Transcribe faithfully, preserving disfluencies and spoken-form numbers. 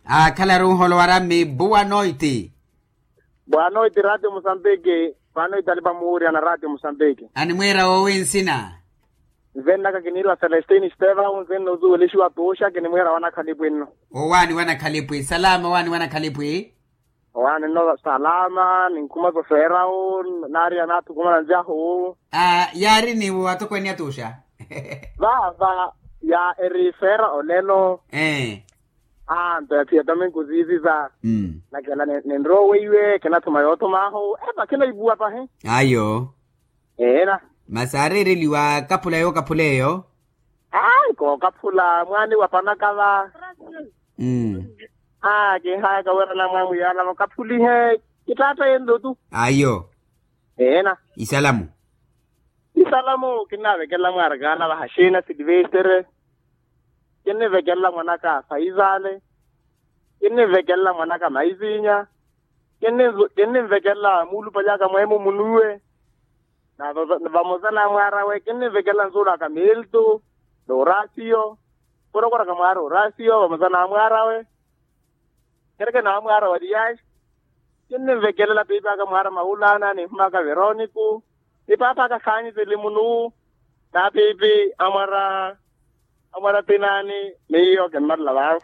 Aakhalaru nholowara mmi buwa noiti. Bwanoiti ratio musambiki. Bwanoiti alipa muwurya na ratio musambiki. Animwiira woowi nsina? Nvennaka kiniirwa celestine steva unzinna osuwelixiwa tuuxa kinimwiira wanakhalipwi nno. Owaani wanakhalipwi salama owaani wanakhalipwi. Owaani nno salama ninkhuma sofeerawu. Naariya naathukumana nzyahu. Aa yaari niwo atokweeni atuuxa. Vaava ya erifeera olelo. Ee. Aa nto ya thiya domingo ziiziza. Nakela ninrowa weiwe kinathuma yoothumaahu eva kinaivuwa pahi. Ayo. Eena. Masi aareereliwa kaphula yookaphula eyo. Aa nkookaphula mwaani wa panaka va. Aa kinhayaka wira namwamwiyalavo kaphulihe. Kitaatta yenlo tu. Ayo. Eena. Isalamu. Isalamu kinnavekelela mwaarakaana vahaxina silivestere. Kinnivekelela mwanaka faisale. Kinnivekelela mwanaka maisinya. Kinnivekelela muulupalyaka mweemo munuwe. Na vamosa na mwaarawe kinnivekelela nsuulaka milto. N'orasiyo. Kurokoraka mwaara orasiyo vamosa na mwaarawe. Kereke na mwaara wa liyaxi. Kinnivekelela piipi aka mwaara mawulaana ninhumaka veroniku. Ni paapa aka khaanyiseli munu. Na piipi amwara amwara tinaani. Miyo kinmarela vaavo.